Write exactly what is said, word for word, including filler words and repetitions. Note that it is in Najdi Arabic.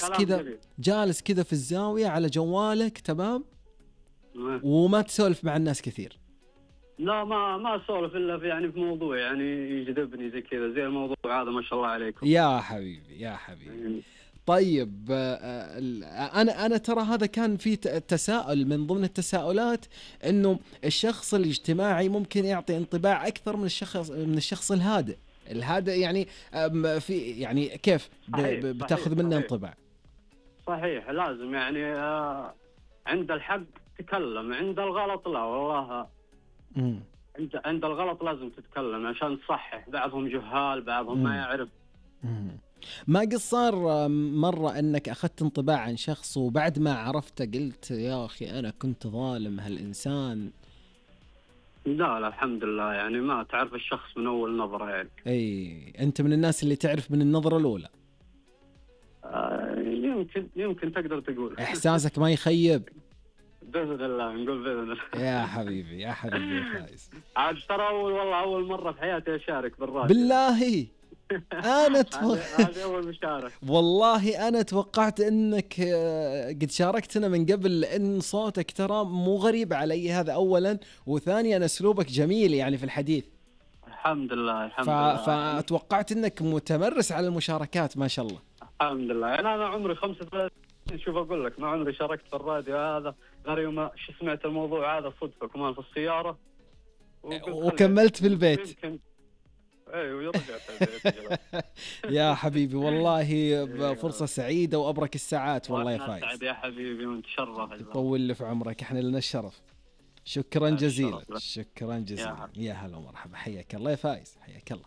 كذا جميل. جالس كذا في الزاوية على جوالك تمام مم. وما تسولف مع الناس كثير. لا ما ما اسولف الا في يعني في موضوع يعني يجذبني زي كذا زي الموضوع هذا ما شاء الله عليكم. يا حبيبي يا حبيبي. طيب آه، أنا أنا ترى هذا كان في تساؤل من ضمن التساؤلات إنه الشخص الاجتماعي ممكن يعطي انطباع أكثر من الشخص من الشخص الهادئ. الهادئ يعني آم، في يعني كيف ب- صحيح، ب- بتاخذ صحيح، منه صحيح. انطباع. صحيح لازم يعني آه عند الحق تتكلم، عند الغلط لا والله. مم. عند عند الغلط لازم تتكلم عشان تصحح. بعضهم جهال بعضهم ما مم. يعرف. مم. ما قد صار آم، مرة أنك أخذت انطباع عن شخص وبعد ما عرفته قلت يا أخي أنا كنت ظالم هالإنسان؟ لا لا الحمد لله يعني ما تعرف الشخص من أول نظرة يعني. أي أنت من الناس اللي تعرف من النظرة الأولى. آه يمكن يمكن تقدر تقول. إحساسك ما يخيب. بإذن الله نقول بإذن الله. يا حبيبي يا حبيبي يا فايز. عاد ترى أول والله أول مرة في حياتي أشارك بالراديو. بالله أنا تو... هذه أول مشارك. والله أنا توقعت أنك آه، قد شاركتنا من قبل، لأن صوتك ترى مو غريب علي، هذا أولا، وثانيا أسلوبك جميل يعني في الحديث. الحمد لله الحمد ف... لله. فتوقعت أنك متمرس على المشاركات ما شاء الله. الحمد لله يعني أنا عمري خمسة وثلاثين. شوف أقول لك ما عمري شاركت في الراديو هذا غير يوم شو سمعت الموضوع هذا صدفة كمان في السيارة وقلت خلي- وكملت في البيت. يمكن ايوه ورجعت البيت. يا حبيبي والله فرصة سعيدة وأبرك الساعات والله يا وأنا فايز. أسعد يا حبيبي ونتشرف. يطول لي في عمرك، احنا لنا الشرف. شكرا يا جزيلا. الشرف لك. شكرا جزيلا. يا يا هلا ومرحبا، حياك الله يا فايز، حياك الله.